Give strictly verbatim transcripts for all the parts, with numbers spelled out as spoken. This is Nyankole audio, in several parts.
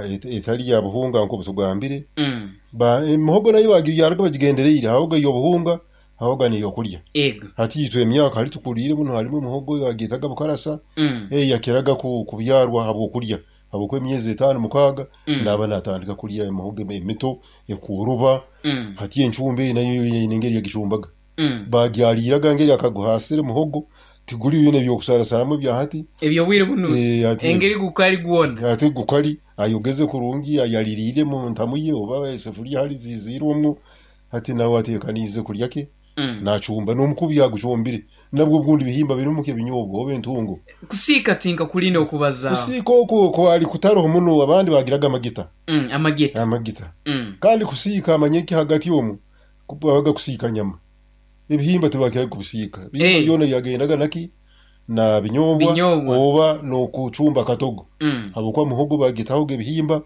Etari ya buhunga nk'obutugambire. Mm. Ba emihogo nayo bagibyaraga bagigendereire, hahoga ey'obuhunga, hahoga n'ey'okulya. Ego. Hati itwe emyaka hali tukuliire muno halimu emihogo bagyetaga bukarasa, Mm. eyakiraga ku kubyarwa habw'okulya, habwokuba emyezi etaano mukaaga Mm. naaba naatandika kulya emihogo emito ekworoba. Mm. Hati encumba eyi nayo eine engeri yagicumbaga. Mm. Bagyaliiraga ngeri akaguhaasire muhogo, tiguli binu ebyokusarasaramu ebya hati. Ebyobwire bunu Eh, hati engeri gukali gwona. Ate gukali ayogeze kurungi, ayaliriire mu ntamu ye oba esefuriya hali ziiziirwemu, hati nawe ateekaniize kulya ke, Mm. naacumba n'omukubi agucumbire. Nabwo obundi bihimba birimu nk'ebinyobwa oba entungo. Kusiika tinka kulina okubazaaho. Kusiika okwo kwali kutaroho muno, abandi bagiraga amagita. Mm, amagita. Amagita. Mm. Kandi kusiika amanyeki hagati omu, babaga kusiika nyama. Ebihimba tibakiraga kubisiika. Ebihimba Eh. byona byagendaga naki? Na binyobwa Binyobwa. oba n'okucumba akatogo. Mm. Habwokuba muhogo bagitahoga ebihimba,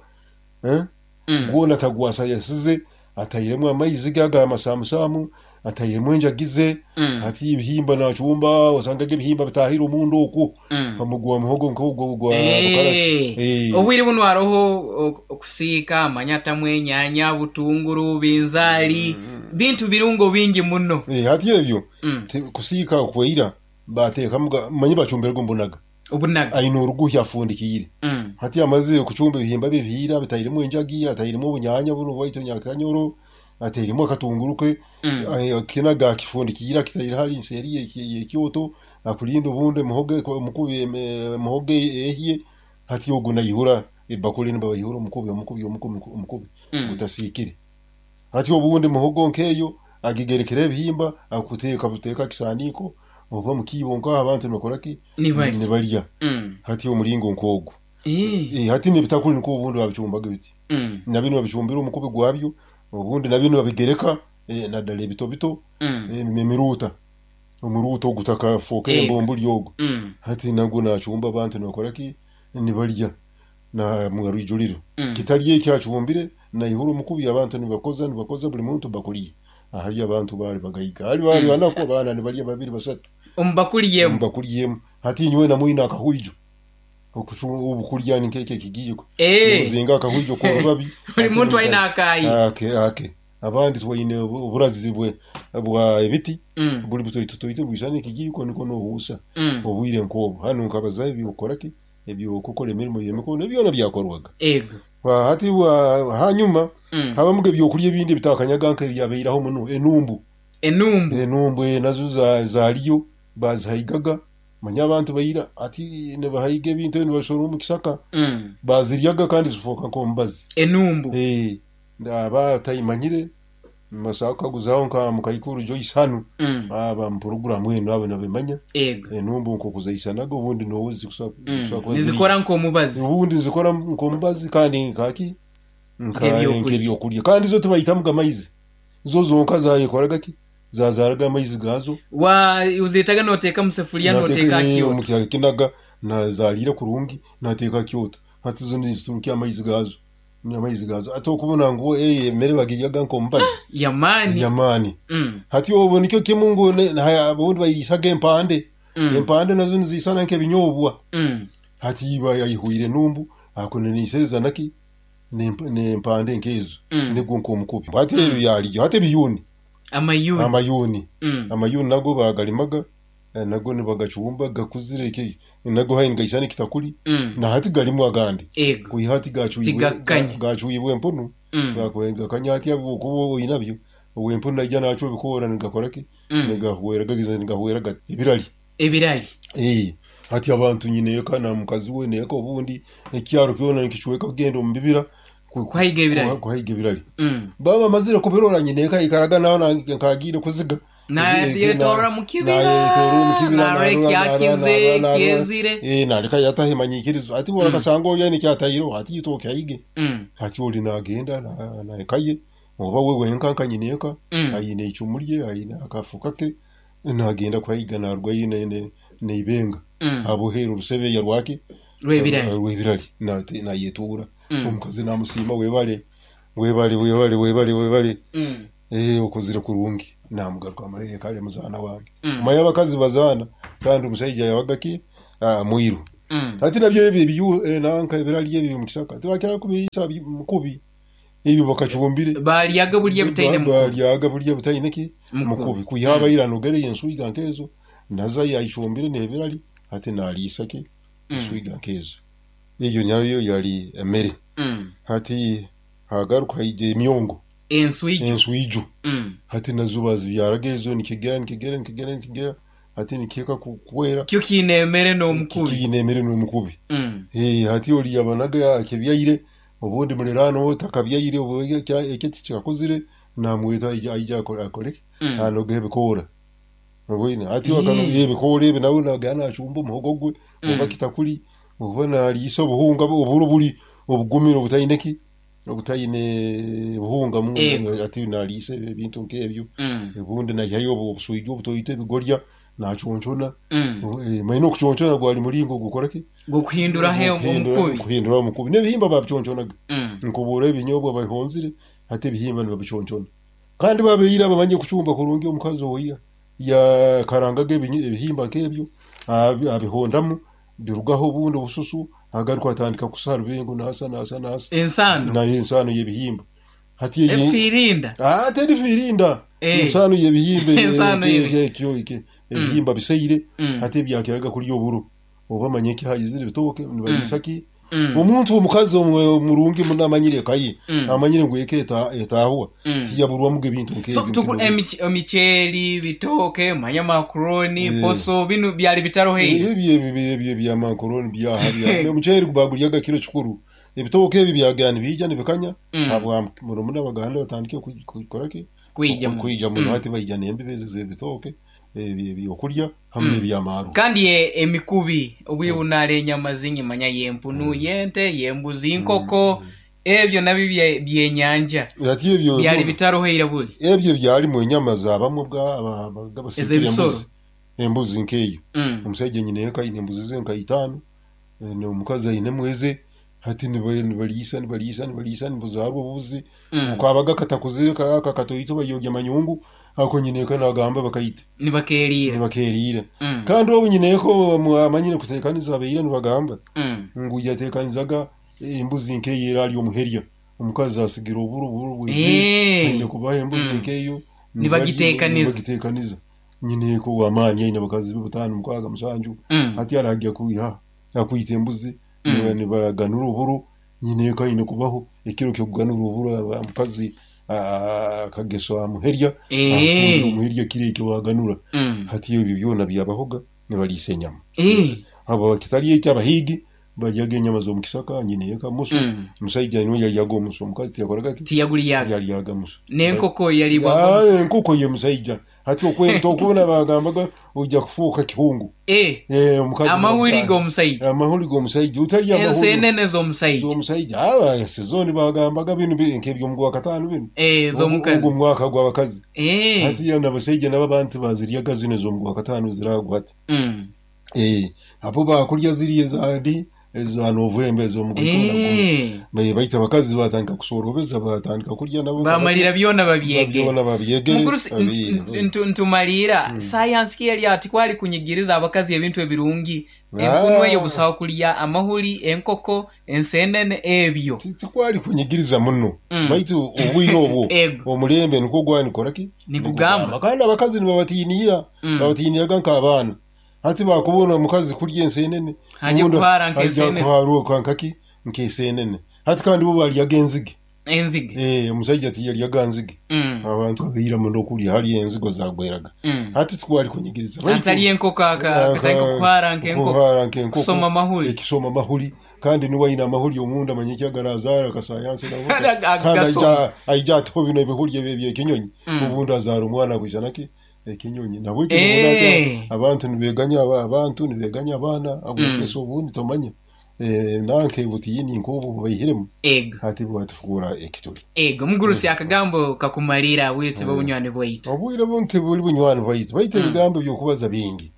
eh? Mm. Gwona atagwasayasize, atairemu amaizi ge aga amasaamusaamu, atairemu enjagi ze, Mm. hati ebihimba naacumba osangaga ebihimba bitaahire omunda okwo. Mm. Gwa muhogo nk'ogwo gwa bukarasa. Eh. Eh. Obwire bunu haroho ok- okusiika amanyatamu enyaanya, butunguru, binzaali, bintu birungo bingi muno. Eh, hati ebyo Mm. ti- kusiika okweira bateekamuga mmanyi bacumbiraga omu bunaga. Obunaga. Aine oruguhya afundikiire. Mm. Hati amazire kucumba ebihimba bye bihiire, abitairemu enjagi, atairemu obunyaanya bunu bwaitu nyakanyoro, atairemu akatunguru ke, Mm. ai- kinaga akifundikiire akitaire hali nseeri y'eki- y'ekyoto, akulinda obundi emihogo omukubi emi- emihogo ehye, hati ogu naihura ebakuli nibaihura omukubi omukubi omukubi omukubi Mm. gutasiikire. Hati obundi muhogo nk'eyo agigerekere ebihimba akuteeka buteeka kisaaniiko oba mu kiibo nkaho abantu nibakora ki? Nibalya. Nibalya. Mm. Hati omuringo nk'ogwo. Eh. Eh, hati n'ebitakuli nikwo obundi babicumbaga biti. Mm. Na binu babicumbira omukubi gwabyo, obundi na binu babigereka eh, naddala ebito bito, Mm. eh, emiruuta. Omuruuta ogutakafookere Ego. embumbuli ogwo. Mm. Hati nagwo naacumba abantu nibakora ki? Nibalya na mwarwijuliro. Mm. Kitali eki acumbire naihura omukubi abantu nibakoza nibakoza buli muntu bakuli. Ahali abantu baali bagaiga. Hali baali Mm. banaku abaana nibalya babiri basatu. Omu bakuli emu. Omu bakuli emu. Hati nyowe namwine akahwijo. Okucu obukulya nk'eki ekigiiko. Eh. Nozinga akahwijo k'orubabi. Buli muntu aine akaayi. Ake ake. Abandi twaine obu- oburazi bwe bwa ebiti Mm. buli butoitotoito bwisana ekigiiko niko noohuusa Mm. obwire nk'obwo. Hanu nkabazaho eby'okukora ki? Eby'okukora emirimo y'emikono byona byakorwaga. Ego. Wa- Hati wa hanyuma Mm. habamuga ebyokulya ebindi ebitakanyaga nk'ebyabairaho muno enumbu. Enumbu. Enumbu eh, nazo za- zaaliyo bazihaigaga manya abantu baira ati nibahaiga ebintu ebi nibabishora omu kisaka Mm. baziryaga kandi zifooka nk'omubazi. Enumbu. Eh, aba atayimanyire nibasobola kukaguzaho nka mukaikuru Joyce hanu Mm. aba mu puroguramu enu abo nibabimanya Ego. enumbu nk'oku zaisanaga obundi noowe zikusobola Mm. zikusobola kuba ziri Nizikora nk'omubazi. obundi nizikora nk'omubazi kandi nkaki nka Nk'ebyokulya. nk'ebyokulya kandi zo tibayitamuga amaizi zo zonka zayekoraga ki zazaaraga amaizi gaazo. Wa uzeetaga nooteeka mu sefuliya nooteeka Nateeka kyoto. omu kinaga nazaliire kurungi nateeka kyoto hati zo niziturukya amaizi gaazo amaizi gaazo ate okubona ngu eh, emmere bagiryaga nk'omubazi Yamaani. yamaani. Mm. Hati obwo nikyo kimu ngu ne- na- obundi bayiriisaga empande. Mm. Empande nazo niziisana nk'ebinyobwa. Mm. Hati iba yayihwire enumbu akuniisereza naki n'emp- n'empande nk'ezo Mm. nibwo nk'omukubi. Hati ebyo byaliyo. Hati ebiyuuni. Amayuuni. Amayuuni. Mm. Amayuuni nago bagalimaga eh, nago nibagacumba gakuzire eki nago hayi nigaisana ekitakuli Mm. na hati galimu agandi. Ego. Kwiha hati gacwibwe Tigakanya. gacwibwe empunu Mm. gakanya hati habwokuba oinabyo ow'empunu naija nacwa ebikoora nigakora ki? Mm. Nigahwera gagiza nigahwera gati ebirali. Ebirali. Eh, hati abantu nyineeka na mukazi we neeka obundi ekyaro kyona nikicweka kugenda omu bibira ku- Kuhaiga ebirali. kuhaiga ebirali. Mm. Baba bamazire kubirora nyineeka aikaraga nawe na- nkagiire kuziga. Nayetorora mu kibira. Nayetorora omu kibira. Narora ekyakize, ekyezire. Eh, naleka yataha emanyikirizo ati bora kasanga oli aine ekyataireho hati itwe okyaige. Mm. Hati oli nagenda na- naekaye oba we wenka nka nyineeka Mm. aine icumu rye aine akafuka ke nagenda kuhaiga narugayo ne- ne- neibenga Mm. abohera orusebeya rwake Rw'ebirali. rw'ebirali nate- nayetuura. Mm. Omukazi namusiima webale webale webale webale webale. Mm. Eh, okozire kurungi namugaruka amahe kale muzaana wange. Mm. Omanye abakazi bazaana kandi omusaija yabaga ki? Ah, mwiru. Mm. Ati nabyo ebyo ebiyu eh, nanka ebirali ebyo mu kisaka tibakira kubiriisa bi- mukubi ebyo bakacumbire Balyaga bulya butaine mukubi. Balyaga bulya butaine ki Mukubi. Mukubi kuyaba iranogere enswiga nkezo naza yayicumbire n'ebirali ate naliisa ki enswiga nkezo. Eyo nayo yali emmere. Mm. Hati hagaruka haija emyongo. Enswijo. Enswijo. Mm. Hati nazo bazibyaraga ezo nikigera nikigera nikigera nikigera hati nikihika ku- kwera. Kyo kiine emmere n'omukubi. Kiine emmere n'omukubi. Mm. Eh, hati oli yabanaga akibyaire obundi muliraano we takabyaire obu ekyo tikakuzire namweta aija aija akole akoleke Mm. anoga ebikoora obwine hati Mm. akanoga ebikoora ebi nawe nagana nacumba omuhogo gwe oba Mm. kitakuli oba naliisa obuhunga oburo buli obugumire obutaine ki obutaine buhunga munda Ego. ati naliisa ebintu nk'ebyo. Mm. Obundi naihayo obu- obuswija obutoito ebigorya naconchona. Mm. Eh, maine okuconchona gwali muringo gukora ki Gukuhinduraho omukubi. Kuhindura omukubi n'ebihimba babiconchonaga. Mm. Nkubura ebinyobwa babihonzire ate ebihimba nibabiconchona kandi babeire bamanye kucumba kurungi. Omukazi owaira yakarangaga ebinyi- ebihimba nk'ebyo abi- abihondamu birugaho obundi obususu agaruka atandika kusa rubengo nasa nasa nasa. Ensano. Nayo ensano y'ebihimba hati eyi- Efirinda. Ah, teri firinda. Eh. Ensano y'ebihimba Ensano y'ebi- ekyo ekyo ebihimba biseire Mm. hati ebyakiraga kurya oburo oba manye ki hayizire ebitooke nibaliisa ki. Mm. Omuntu omukazi omwe- omurungi muno amanyire ekaye Mm. amanyire ngu eka eta- etahuwa Mm. tiyaburwamuga ebintu So nk'ebyo. tuku emic- emiceeri, bitooke, manya macaroni, Eh. poso binu byali bitaro heyi. Ebyo ebyo ebyo ebyamankoroni byaha bya omuceeri bagulyaga kiro kikuru ebitooke ebi byagana nibijja nibikanya Mm. habwa muno muno abaganda batandike ku- kukora ki Kwija muno. kwija muno Mm. hati baija n'embibe ezo z'ebitooke ebyo ebyokurya hamwe Mm. n'ebyamaarwa. Kandi e- emikubi obwire bunara enyama zingi manya y'empunu, y'ente, y'embuzi, inkoko ebyo nabyo bye- byenyanja Ati ebyo byali bitaro heira buli. Ebyo byalimu enyama zabamwe bwa aba- aba- abasikire Ez'ebisoro. embuzi embuzi nk'eyo. Mm. Omusajja nyina eka aine embuzi ze nka itaano eh, n'omukazi ainemu eze hati niba- nibaliisa nibaliisa nibaliisa nibuzaarwa obubuzi. Mm. Kabaga katakuzire aka katoito baryogya manyungu ako nyina eka nagamba bakaita. Nibakerira. Nibakerira. Mm. Kandi obu nyina eka omu- amanyire kuteekaniza abeire nibagamba Mm. ngu yateekanizaga embuzi nk'eyo era ari omuherya omukazi asigira oburo oburo bweze Eh. aine kubaha embuzi Mm. nk'eyo. Nibagiteekaniza. Nibagiteekaniza nyina eka ow'amaani aine abakazi be bataano mukaaga musanju. Mm. Hati arajya kwiha akwita embuzi Mm. niba- nibaganura oburo nyina eka aine kubaho ekiro ky'okuganura oburo aba- omukazi ah, akageso amuherya Eh. acumbira omuherya kiro ekyo baganura. Mm. Hati ebyo byona byabahoga nibaliisa enyama. Eh. Abo kitali ekyo abahiigi balyaga enyama z'omu kisaka nyina eka musu. Mm. Omusajja niwe yalyaga omusu omukazi tiyakoraga ki Tiyaguliyaga. yalyaga musu. N'enkoko yalibwaga. Ah, enkoko ye musajja hati okwenta okubona bagambaga ojja kufuuka kihungu. Eh. Eh, omukazi Amahuri bamuta- g'omusajja. Amahuri g'omusajja utalya amahuri Ensenene z'omusajja. z'omusajja aba sizoni bagambaga bino bi- nk'eby'omu gwa kataano bino. Eh, z'omukazi. Ogwo mwaka gw'abakazi. Eh. Hati ya n'abasajja nabo abantu baziryaga zino ez'omu gwa kataano ziragwa hati. Mm. Eh, abo bakulya ziri ezandi eza Novemba ez'omu gwikumi na gumu. Eh. Baye baita abakazi batandika kusorobeza batandika kurya nabo Bamalira byona babyege. Byona babyegere. Mukuru si- babiire. ntu- ntu- ntumalira sayansi ki yali ati kwali kunyigiriza abakazi ebintu ebirungi empunu Ah. eyo busawo kulya amahuri enkoko ensenene ebyo. Ti- tikwali kunyigiriza muno Mm. baitu obwire obwo Ego. omulembe nikwo gwanikora ki Nikugamba. Kandi abakazi nibabatiinira Mm. babatiiniraga nk'abaana hati bakubona omukazi kurya ensenene Haje ubundi kuhara haja nk'ensenene. kuharuka nkaki nk'ensenene hati kandi bo balyaga enzige. Enzige. Eh, omusajja tiyalyaga nzige. Mm. Abantu abeira muno okulya hali enzigo zagweraga Mm. hati tikwali kunyigiriza Baitu- Antali enkoko aka- akatandika kuhara nk'enkoko. Kuhara nk'enkoko. Kusoma amahuri. Ekisoma amahuri kandi niwe aine amahuri omunda manye ekyagarazaara akasayansi nabo. Aga- Kandi agasoma. aija aija atiho bino ebihuri ebyo ebyekinyonyi Mm. obundi azaara omwana akwijana ki ekinyonyi nabwe Eh. abantu nibeganya aba- abantu nibeganya abaana agwegesa obundi tomanya Eh, nanke butiyini nk'obu baihiremu Ego. hati bwatufuura ekituli. Ego mugurusi akagambo kakumalira bwire bunywani bwaitu. Obwire bunti buli bunywani bwaitu baitu ebigambo by'okubaza bingi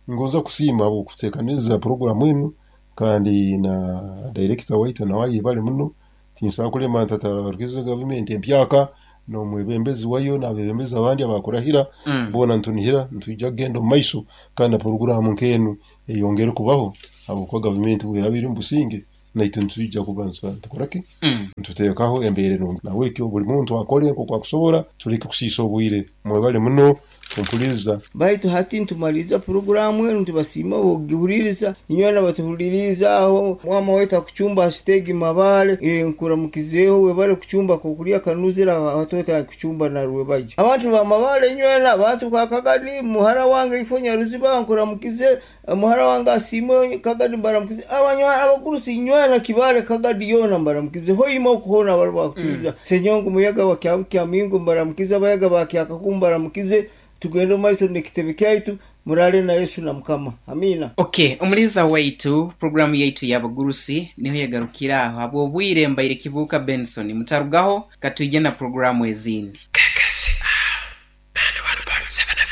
ngoza kusiima okuteekaniriza puroguramu enu kandi na director waitu nawe ayebale muno tinsobola kulema nti atarabarukiza gavumenti empyaka N'omwebembezi wayo n'abebembezi abandi abakurahira Mm. boona ntunihira nitwija kugenda omu maiso, kandi na poroguramu nk'enu eyongere kubaho, habwokuba gavumenti bweraba eri omu businge, naitwe nitwija kuba nitukoraki, Mm. nituteekaho embeera enungi. Nahabwekyo buli muntu akole nk'oku akusobora, tuleke kusiisa obwire. Mwebale muno kumpuliriza. Baitu hati ntumaliza puroguramu enu, ntubasiima bokugihuliriza. Inywena batuhuliriza aho, mwama waitu akucumba asitegi mabale, e, nkuramukizeeho, webale kucumba kokulya kanuzira hatota kucumba narwebajo abantu ba Mabale inywena abantu ka Kagadi, muhara wange ifo Nyaruziba nkuramukize, muhara wange Asiimwe Kagadi mbaramukize, abanywa abagurusi inywena Kibale Kagadi yona mbaramukize, hoima okuhona abali bakutuliza mm. Senyongo muyaga wa Kyamingo mbaramukize, abayaga ba Kyakaku mbaramukize. Tugende maiso n'ekitebe kyaitu, murale na Yesu na Mukama. Amina. Okay, omuliza waitu, programu yaitu y'abagurusi niho yagarukira aho habw'obwire. Mbaire Kibuuka Benson, mutarugaho katwije na programu ezindi.